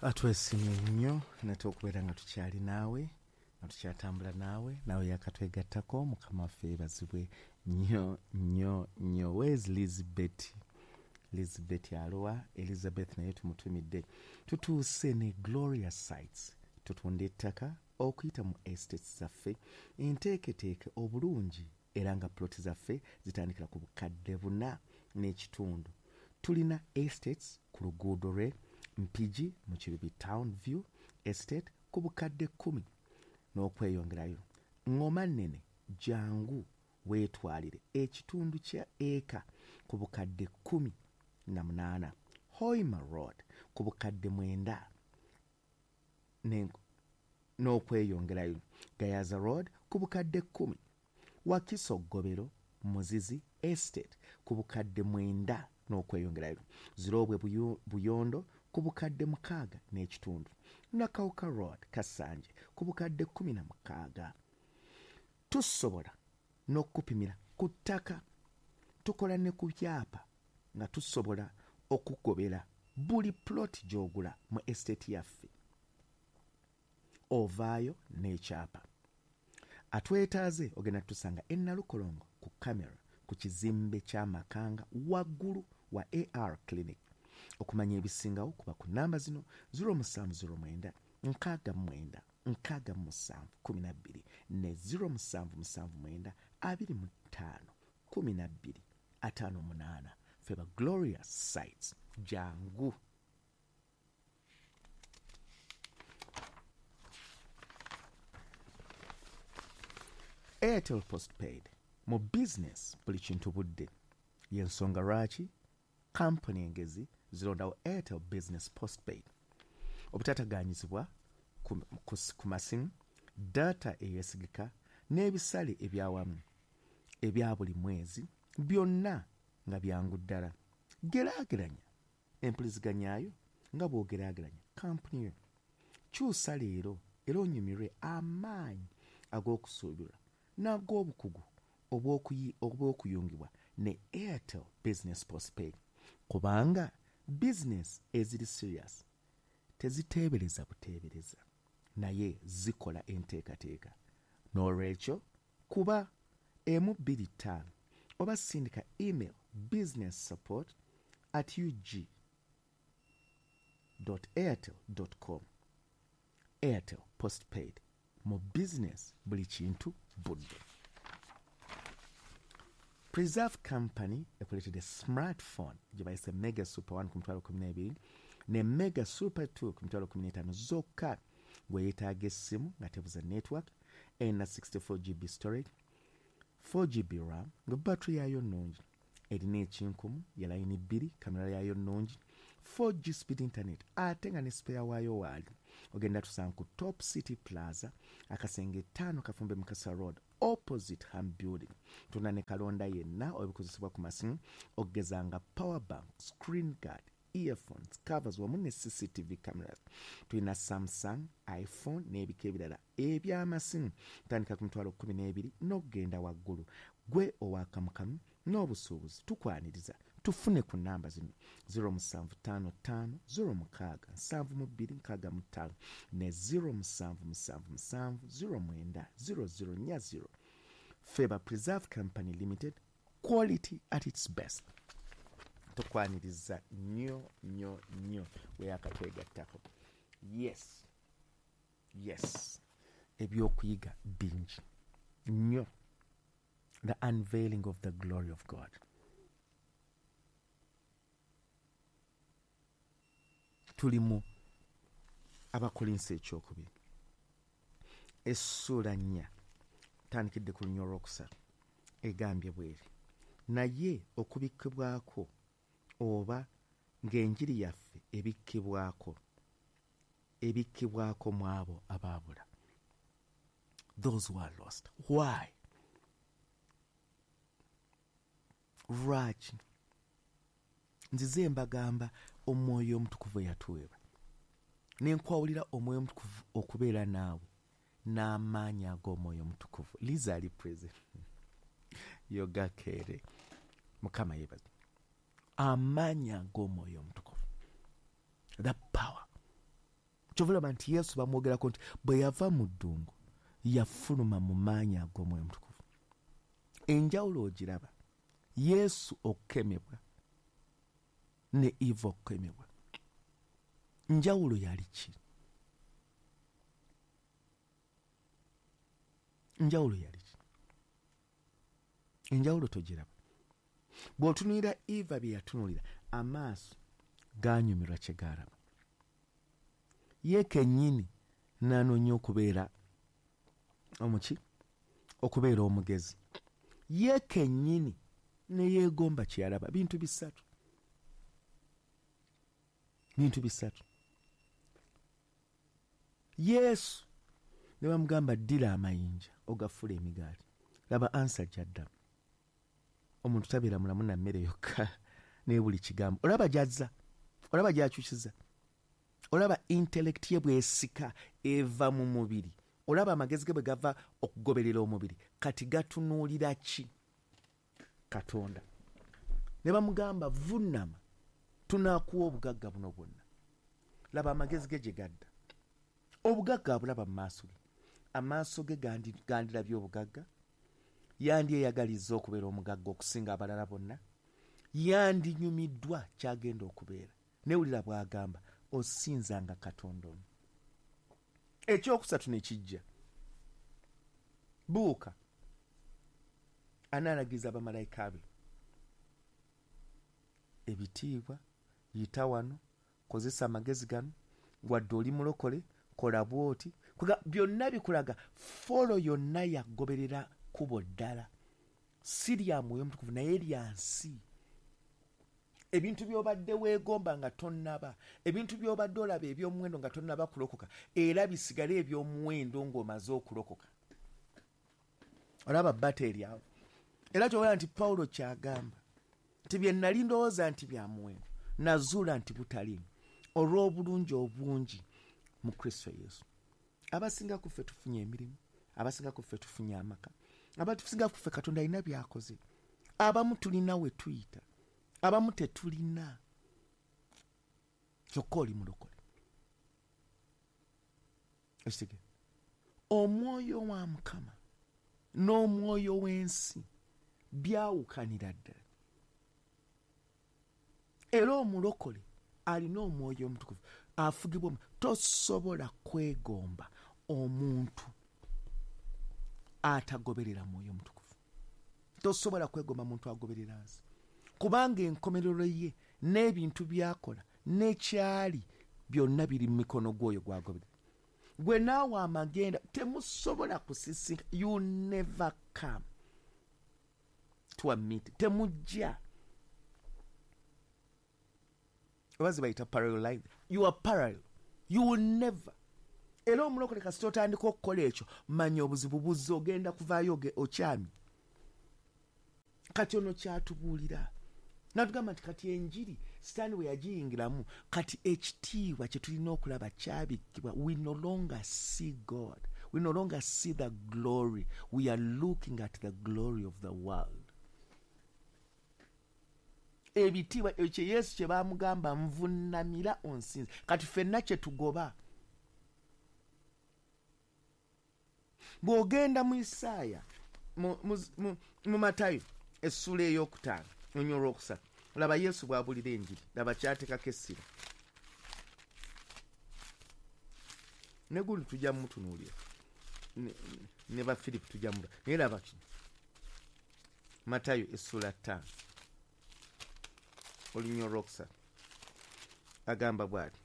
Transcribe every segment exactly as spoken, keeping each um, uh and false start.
Atwesimye nnyo nate okubeera nga tukyali naawe, nga tukyatambula naawe, naawe yakatwegattako. Mukama waffe yeebazibwe nnyo nnyo nnyo. Where's Elizabeth? Elizabeth alowa, Elizabeth naye tumutumidde. Tutuuse ne Glorious Sites, tutunda ettaka okuyita mu estates zaffe enteeketeeke obulungi, era nga ploti zaffe zitandikira ku bukadde buna n'ekitundu. Tulina estates ku luguudo lwe Mpigi mu Kibibi Town View Estate ku bukadde kkumi n'okweyongerayo. Ngoma nnene, jangu weetwalire ekitundu kya eka ku bukadde kkumi na munaana. Hoima Road ku bukadde mwenda n'okweyongerayo. Gayaza Road ku bukadde kkumi. Wakiso Gobero Muzizi Estate ku bukadde mwenda n'okweyongerayo. Zirobwe Buyondo ku bukadde mukaaga n'ekitundu. Nakawuka Road Kasanje ku bukadde kkumi na mukaaga. Tusobola n'okupimira ku ttaka, tukola ne ku byapa nga tusobola okugobera buli plot gy'ogula mu estate yaffe, ovaayo n'ekyapa. Atwetaaze ogenda tusanga e Nalukolongo ku kamera ku kizimbe kya Makanga waggulu wa A R Clinic. Okumanya ebisingawo kuba ku namba zino zero musanvu zero mwenda nkaaga mwenda nkaaga musanvu kumi na bbiri ne zero musanvu musanvu mwenda abiri mu ttaano kumi na bbiri ataano munaana. Feba Glorious Sites, jangu. Airtel Postpaid mu business buli kintu budde. Y'ensonga lwaki kampuni engezi zirondawo Airtel Business Postpaid. Obutataganyizibwa ku, ku, ku masimu, data eyeesigika n'ebisale ebyawamu ebya buli mwezi byonna nga byangu ddala. Geraageranya empuliziganyaayo nga bw'ogeraageranya kampuni yo. Kyusa leero era onyumirwe amaanyi ag'okusuubirwa n'ag'obukugu obw'okuyungibwa ne Airtel Business Postpaid, kubanga business eziri serious teziteebereza buteebereza naye zikola enteekateeka. N'olwekyo kuba emu bbiri ttaano oba sindika email business support at ug dot airtel dot com. Airtel Postpaid mu business buli kintu budde. Preserve Company ekuleetedde smartphone gye bayise Mega Super one ku mitwalo kkumi n'ebiri ne Mega Super two ku mitwalo kkumi n'etaano zokka. Gwe yeetaaga essimu nga tebuza network, erina sixty-four G B storage, four G B RAM, nga battery yaayo nnungi, erina ekinkumu ya layini bbiri, kamera yaayo nnungi, four G speed internet, ate nga ne spare waayo waali. Ogenda tusanga ku Top City Plaza, akasenge ttaano Kafumbe Mukasa Road, opposite Ham Building. Tunda ne kalonda yenna ebikozesebwa ku masimu okugeza nga power bank, screen guard, earphones, covers wamu ne C C T V cameras. Tulina Samsung, iPhone n'ebika ebirala eby'amasimu tandika ku mitwalo kkumi n'ebiri n'okugenda waggulu. Gwe owakamukamu n'obusuubuzi tukwaniriza. Tufune ku namba zino zero musanvu ttaano ttaano zero mukaaga nsanvu mu bbiri nkaaga mu ttaano ne zero musanvu musanvu musanvu zero mwenda zero zero nnya zero. Feba Preserve Company Limited, quality at its best. Tukwaniriza nnyo nnyo nnyo weyakatwegattako. Yes, yes, ebyokuyiga bingi nnyo. The unveiling of the glory of God. Tuli mu Abakolinso ekyokubiri essuula nnya, tandikidde ku lunya olwokusatu, egambye bweri: naye okubikkibwako oba ng'enjiri yaffe ebikkibwako ebikkibwako mu abo abaabula, those who are lost. Why? Lwaki? Nzize mbagamba omwoyo omutukuvu yatuweebwa, ne nkwawulira omwoyo omutukuvu okubeera naawe n'amaanyi ag'omwoyo omutukuvu. Liza ali present, yogakeere. Mukama yeebaze. Amaanyi ag'omwoyo omutukuvu, the power. Kyova olaba nti Yesu bamwogerako nti bwe yava mu ddungu yafuluma mu maanyi ag'Omwoyo Omutukuvu. Enjawulo ogiraba, Yesu okukemebwa ne Eva okukemebwa, njawulo yali ki? Njawulo yali ki? Enjawulo togiraba. Bw'otunuulira Eva bye yatunuulira, amaaso ganyumirwa kye gaalaba. Ye kennyini n'anoonya okubeera omuki, okubeera omugezi. Ye kennyini ne yeegomba kye yalaba. Bintu bisatu, bintu bisatu. Yesu ne bamugamba ddira amayinja ogafuule emigaati. Laba ansa gy'addamu. Omuntu tabeera mulamu na mmere yokka naye buli kigambo. Olaba gy'azza, olaba gy'akyusiza, olaba intellect ye bw'esika eva mu mubiri, olaba amagezi ge bwe gava okugoberera omubiri. Kati gatunuulira ki? Katonda. Ne bamugamba vunnama tunaakuwa obugagga buno bwonna. Laba amagezi ge gye gadda. Obugagga abulaba mu maaso ge. Amaaso ge gandirabye obugagga, yandyeyagalizza okubeera omugagga okusinga abalala bonna, yandinyumiddwa kyagenda okubeera. Newulira bw'agamba osinzanga Katonda omu. Ekyokusatu ne kijja, buuka anaalagiriza bamalayika be ebitiibwa, yita wano, kozesa amagezi gano, wadde oli mulokole kola bw'oti. Byonna bikulaga folo yonna yagoberera kkubo ddala, si lya Mwoyo Mutukuvu naye lya nsi. Ebintu by'obadde weegomba nga tonnaba, ebintu by'obadde olaba eby'omuwendo nga tonnaba kulokoka, era bisigale eby'omuwendo ng'omaze okulokoka. Olaba bata eri awo. Era ky'olaba nti Pawulo ky'agamba nti bye nali ndowooza nti bya muwendo, nazuula nti butaliimu olw'obulungi obungi mu Kristo Yesu. Abasinga ku ffe tufunye emirimu, abasinga ku ffe tufunye amaka, abasinga ku ffe Katonda alina by'akoze. Abamu tulina we tuyita, abamu tetulina. Kyokka oli mulokole. Ekitegeera, omwoyo wa Mukama n'omwoyo w'ensi byawukanira ddala. Era omulokole alina Omwoyo Omutukuvu afugibwa. Tosobola kwegomba omuntu atagoberera Mwoyo Mutukuvu. Tosobola kwegomba muntu agoberera nsi, kubanga enkomerero ye n'ebintu by'akola n'ekyali byonna biri mu mikono gw'oyo gw'agoberera. Gwe naawe amagenda temusobola kusisinka. You never come to a meeting. Temujja. Oba zibayita parallel life. You are parallel. You will never. Era omulokole kasita otandika okukola ekyo, manya obuzibu buzze, ogenda kuvaayo okyamye. Kati ono kyatubuulira natugamba nti kati enjiri Sitaani bwe yagiyingiramu, kati ekitiibwa kye tulina okulaba kyabikkibwa. We no longer see God, we no longer see the glory, we are looking at the glory of the world. Ebitiibwa ekyo Yesu kye baamugamba nvunnamira onsinze, kati ffenna kye tugoba. Bw'ogenda mu Isaaya, mu Matayo essuula ey'okutaano olunyiriri olwokusatu, laba Yesu bw'abuulira enjiri, laba ky'ateekako essira. Ne gundi tujja mmutunuulira, ne ba Firipo tujja mmutunuulira, naye laba kino. Matayo essuula ttaano olunyiriri olwokusatu agamba bw'ati.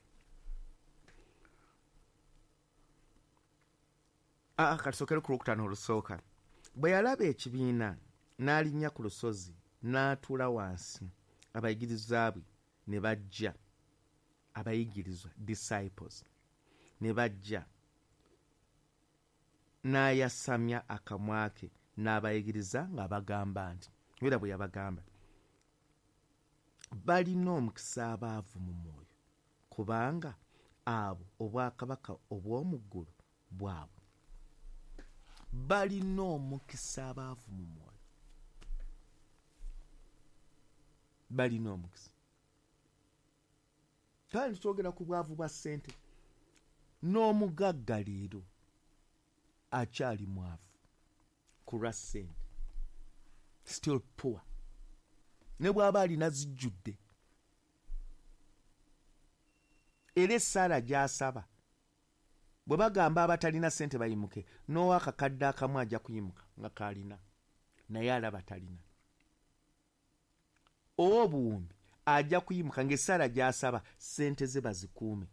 Aa, katusookere ku lwokutaano olusooka. Bwe yalaba ekibiina n'alinnya ku lusozi n'atuula wansi, abayigirizwa be ne bajja, abayigirizwa disciples ne bajja, n'ayasamya akamwa ke n'abayigiriza ng'abagamba nti, era bwe yabagamba, balina omukisa abaavu mu mwoyo, kubanga abo obwakabaka obw'omu ggulu bwabwe. Balina omukisa abaavu mu mwoyo, balina omukisa. Kale twogera ku bwavu bwa ssente. N'omugagga leero akyali mwavu ku lwa ssente, still poor, ne bw'aba alina zijjudde. Era essaala gy'asaba bwe bagamba abatalina ssente bayimuke, n'owakakadde akamu ajja kuyimuka nga k'alina, naye alaba talina. Ow'obuwumbi ajja kuyimuka ng'essaala gy'asaba ssente ze bazikuume.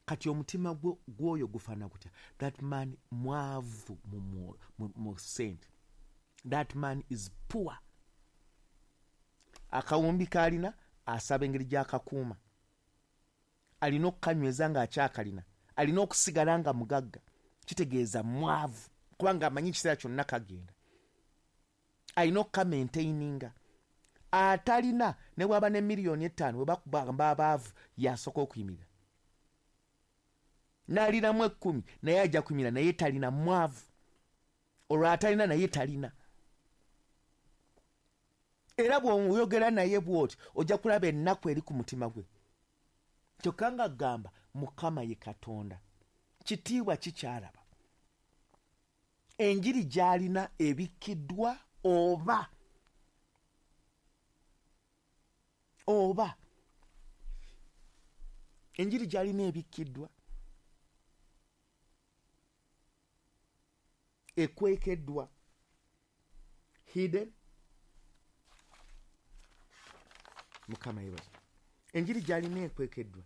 Kati omutima gw'oyo gufaanana gutya? That man mwavu mu, mu, mu ssente. That man is poor. Akawumbi k'alina asaba engeri gy'akakuuma, alina okukanyweza ng'akyakalina, alina okusigala nga mugagga. Kitegeeza mwavu kubanga amanyi ekiseera kyonna kagenda, alina okukamaintaininga. Atalina ne bw'aba ne miliyoni etaano, bwe bakugamba abaavu yasooka okuyimirira, n'alinamu ekkumi naye ajja kuyimirira, naye talina, mwavu. Olwo atalina naye talina. Era bw'oyogera naye bw'oti ojja kulaba ennaku eri ku mutima gwe. Kyokka nga gamba Mukama ye Katonda, kitiibwa kikyalaba. Enjiri gy'alina ebikkiddwa oba oba enjiri gy'alina ebikkiddwa, ekwekeddwa, hidden. Mukama yeebazibwe. Enjiri gy'alina ekwekeddwa,